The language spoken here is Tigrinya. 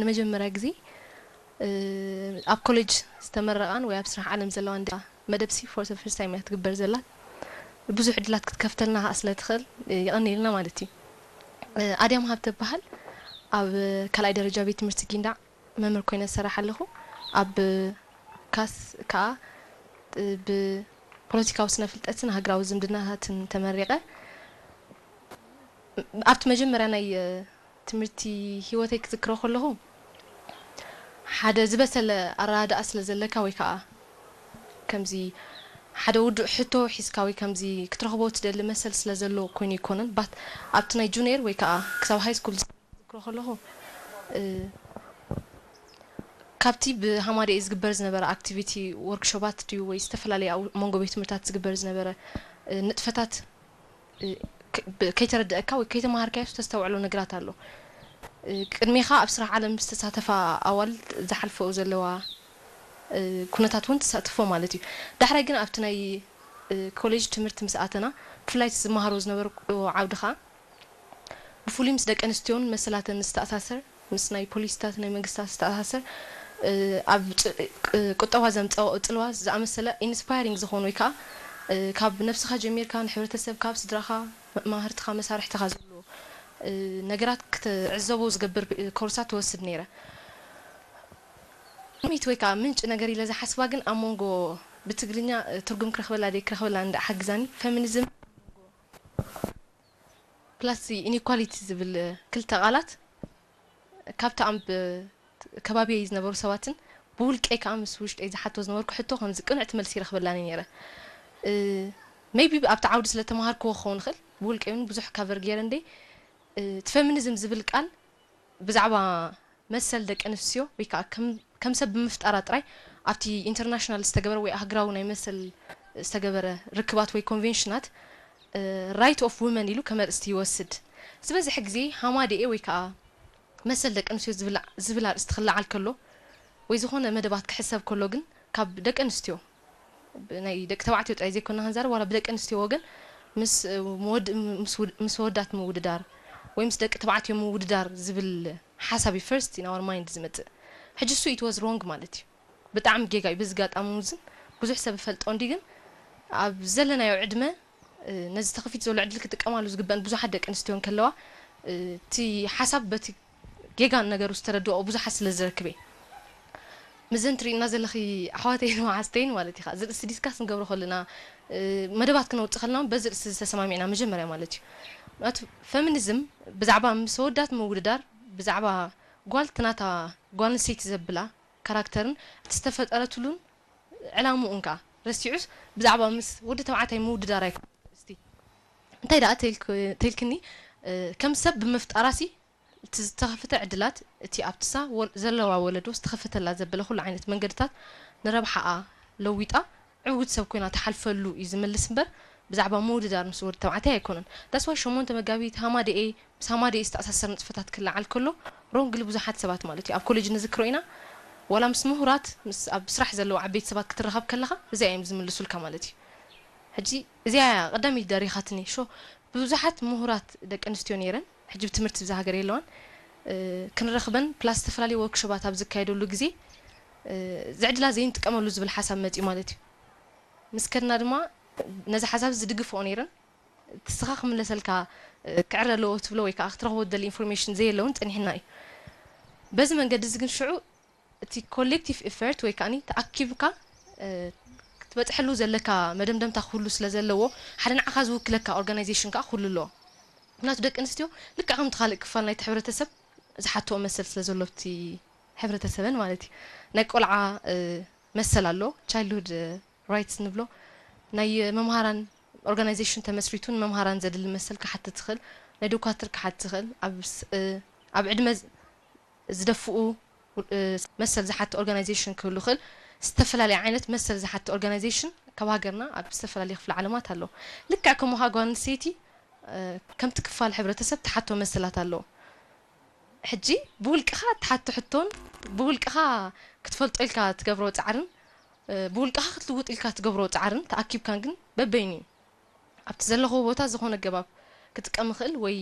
ንመጀመርያ ግዜ ኣብ ኮሌጅ ዝተመረቓን ወይ ኣብ ስራሕ ዓለም ዘለዋ እንዳ መደብ ሲ for the first time እያ ትግበር ዘላ። ብዙሕ ዕድላት ክትከፍተልና ከኣ ስለ ትኽእል የቐንየልና ማለት እዩ። ኣድያም ሃብተ እበሃል። ኣብ ካልኣይ ደረጃ ቤት ትምህርቲ ጊንዳዕ መምህር ኮይነ ዝሰርሕ ኣለኹ። ኣብ ካስ ከኣ ብፖለቲካዊ ስነ ፍልጠትን ሃገራዊ ዝምድናታትን ተመሪቐ። ኣብቲ መጀመርያ ናይ ትምህርቲ ህይወተይ ክዝክሮ ከለኹ ሓደ ዝበሰለ ኣረዳድኣ ስለ ዘለካ ወይ ከዓ ከምዚ ሓደ ውዱእ ሕቶ ሒዝካ ወይ ከምዚ ክትረኽቦ ትደሊ መሰል ስለ ዘሎ ኮይኑ ይኮነን ባት ኣብቲ ናይ ጁኒየር ወይ ከዓ ክሳብ ሃይ ስኩል ዝዝክሮ ከለኹ ካብቲ ብሃማደኤ ዝግበር ዝነበረ ኣክቲቪቲ ወርክሾባት ድዩ ወይ ዝተፈላለዩ ኣብ መንጎ ቤት ትምህርታት ዝግበር ዝነበረ ንጥፈታት ከይተረደአካ ወይ ከይተማሃርካዮ ዝተስተውዕሎ ነገራት ኣሎ። ቅድሜኻ ኣብ ስራሕ ዓለም ዝተሳተፋ ኣዋልድ ዝሓልፈኡ ዘለዋ ኩነታት እውን ትሳትፎ ማለት እዩ። ዳሕራይ ግን ኣብቲ ናይ ኮሌጅ ትምህርቲ ምስ ኣተና ብፍላይ ዝመሃሮ ዝነበረ ዓውዲ ከዓ ብፍሉይ ምስ ደቂ ኣንስትዮን መሰላተን ዝተኣሳሰር ምስ ናይ ፖሊሲታት ናይ መንግስታት ዝተኣሳሰር ኣብ ቁጠባ ዘምፀኦ ፅልዋ ዝኣመሰለ ኢንስፓይሪንግ ዝኾኑ ወይ ከዓ ካብ ነብስኻ ጀሚርካ ንሕብረተሰብካ ኣብ ስድራኻ መማህርትኻ መሳርሕትኻ ዘሎ ነገራት ክትዕዘቦ ዝገብር ኮርሳት ትወስድ ነይረ። ሚት ወይ ከዓ ምንጭ ነገር ኢለ ዝሓስባ ግን ኣብ መንጎ ብትግርኛ ትርጉም ክረኽበላ ደይ ክረኽበላ እንዳ ሓግዛኒ ፌሚኒዝም ፕላስ ኢኒኳሊቲ ዝብል ክልተ ቃላት ካብቲ ኣብ ከባቢየይ ዝነበሩ ሰባትን ብውልቀይ ከዓ ምስ ውሽጠይ ዝሓቶ ዝነበርኩ ሕቶ ከምዚ ቅንዕቲ መልሲ ይረኽበላኒ ነይረ። ሜቢ ኣብቲ ዓውዲ ስለ ተምሃርክዎ ክኸውን ይኽእል ብውልቀይ እውን ብዙሕ ካቨር ገይረ እንደ እቲ ፌሚኒዝም ዝብል ቃል ብዛዕባ መሰል ደቂ ኣንስትዮ ወይ ከዓ ከም ሰብ ብምፍጣራ ጥራይ ኣብቲ ኢንተርናሽናል ዝተገበረ ወይ ኣህግራዊ ናይ መሰል ዝተገበረ ርክባት ወይ ኮንቬንሽናት ራይት ኦፍ ውመን ኢሉ ከም ኣርእስቲ ይወስድ። ዝበዝሐ ግዜ ሃማደኤ ወይ ከዓ መሰል ደቂ ኣንስትዮ ዝብል ኣርእስቲ ክለዓል ከሎ ወይ ዝኾነ መደባት ክሕሰብ ከሎ ግን ካብ ደቂ ኣንስትዮ ናይ ደቂ ተባዕትዮ ጥራይ ዘይኮና ክንዛረብ ዋላ ብደቂ ኣንስትዮ ወገን ምስ ወዳት ምውድዳር ወይ ምስ ደቂ ተባዕትዮ ምውድዳር ዝብል ሓሳብ እዩ ፈርስት ኢን ኣወር ማይንድ ዝመፅእ። ሕጂ እሱ ኢት ዋዝ ሮንግ ማለት እዩ። ብጣዕሚ ጌጋ እዩ። በዚ ጋጣሚ እውን ብዙሕ ሰብ እፈልጦ እንዲ ግን ኣብ ዘለናዮ ዕድመ ነዚ ተኸፊት ዘሎ ዕድል ክጥቀማሉ ዝግበን ብዙሓት ደቂ ኣንስትዮ እንከለዋ እቲ ሓሳብ በቲ ጌጋን ነገሩ ዝተረድኦ ብዙሓት ስለ ዝረክብ እየ። ምዘን ትሪእና ዘለኺ ኣሕዋተይን መዓዝተይን ማለት እዩ። እዚ ርእሲ ዲስካስ ንገብሮ ከለና መደባት ክነውፅእ ከለና በዚ ርእሲ ዝተሰማሚዕና መጀመርያ ማለት እዩ። ምክንያቱ ፌሚኒዝም ብዛዕባ ምስ ኣወዳት ምውድዳር ብዛዕባ ጓል ትናታ ጓል ኣንስተይቲ ዘብላ ካራክተርን እቲ ዝተፈጠረትሉን ዕላምኡን ከዓ ረሲዑስ ብዛዕባ ምስ ወዲ ተባዕታይ ምውድዳር ኣይኮነን። እስቲ እንታይ ደኣ ተይልክኒ ከም ሰብ ብምፍጣራሲ እቲ ዝተኸፍተ ዕድላት እቲ ኣብትሳ ዘለዋ ወለዶ ዝተኸፈተላ ዘበለ ኩሉ ዓይነት መንገድታት ንረብሓኣ ለዊጣ ዕውት ሰብ ኮይና ትሓልፈሉ እዩ ዝምልስ እምበር ብዛዕባ ምውድዳር ምስ ወዲ ተባዕታይ ኣይኮነን። ዳስዋይ ሸሞንተ መጋቢት ሃማደኤ ምስ ሃማደኤ ዝተኣሳሰር ንጥፈታት ክለዓል ከሎ ሮንግሊ ብዙሓት ሰባት ማለት እዩ ኣብ ኮሌጅ ንዝክሮ ኢና ዋላ ምስ ምሁራት ምስ ኣብ ስራሕ ዘለዉ ዓበይቲ ሰባት ክትራኸብ ከለኻ እዚኣ እዮም ዝምልሱልካ ማለት እዩ። ሕጂ እዚኣ እያ ቀዳመይቲ ደሪኻትኒ ሾ ብዙሓት ምሁራት ደቂ ኣንስትዮ ነይረን ሕጂ ብትምህርቲ ብዛ ሃገር የለዋን ክንረኽበን ፕላስ ዝተፈላለዩ ወርክሾባት ኣብ ዝካየደሉ ግዜ ዝዕድላ ዘይንጥቀመሉ ዝብል ሓሳብ መፅዩ ማለት እዩ። ምስ ከድና ድማ ነዚ ሓሳብ ዝድግፍኦ ነይረን ትስኻ ክምለሰልካ ክዕረ ኣለዎ ትብሎ ወይ ከዓ ክትረኽቦ ትደሊ ኢንፎርሜሽን ዘየለውን ፀኒሕና እዩ። በዚ መንገዲ እዚ ግን ሽዑ እቲ ኮሌክቲቭ ኢፈርት ወይ ከዓ ተኣኪብካ ክትበፅሐሉ ዘለካ መደምደምታ ክህሉ ስለ ዘለዎ ሓደ ንዓኻ ዝውክለካ ኦርጋናይዜሽን ከዓ ክህሉ ኣለዎ። ምክንያቱ ደቂ ኣንስትዮ ልክዕ ከምቲ ካልእ ክፋል ናይቲ ሕብረተሰብ ዝሓትኦ መሰል ስለ ዘሎ ኣብቲ ሕብረተሰበን ማለት እዩ። ናይ ቆልዓ መሰል ኣሎ ቻይልድሁድ ራይትስ ንብሎ ናይ መምሃራን ኦርጋናይዜሽን ተመስሪቱ ንመምሃራን ዘድሊ መሰል ክሓትት ትኽእል ናይ ዶኳትር ክሓትት ትኽእል ኣብ ዕድመ ዝደፍኡ መሰል ዝሓቲ ኦርጋናይዜሽን ክህሉ ይኽእል። ዝተፈላለየ ዓይነት መሰል ዝሓቲ ኦርጋናይዜሽን ካብ ሃገርና ኣብ ዝተፈላለየ ክፍለ ዓለማት ኣሎ። ልክዕ ከምኡ ኸዓ ጓል ኣንስተይቲ ከምቲ ክፋል ሕብረተሰብ ትሓቶ መሰላት ኣለዎ። ሕጂ ብውልቅኻ ትሓቶ ሕቶን ብውልቅኻ ክትፈልጦ ኢልካ ትገብሮ ፃዕርን ብውልቅኻ ክትልውጥ ኢልካ ትገብሮ ፃዕርን ተኣኪብካን ግን በበይኑ እዩ። ኣብቲ ዘለኹዎ ቦታ ዝኾነ ኣገባብ ክጥቀም ይኽእል ወይ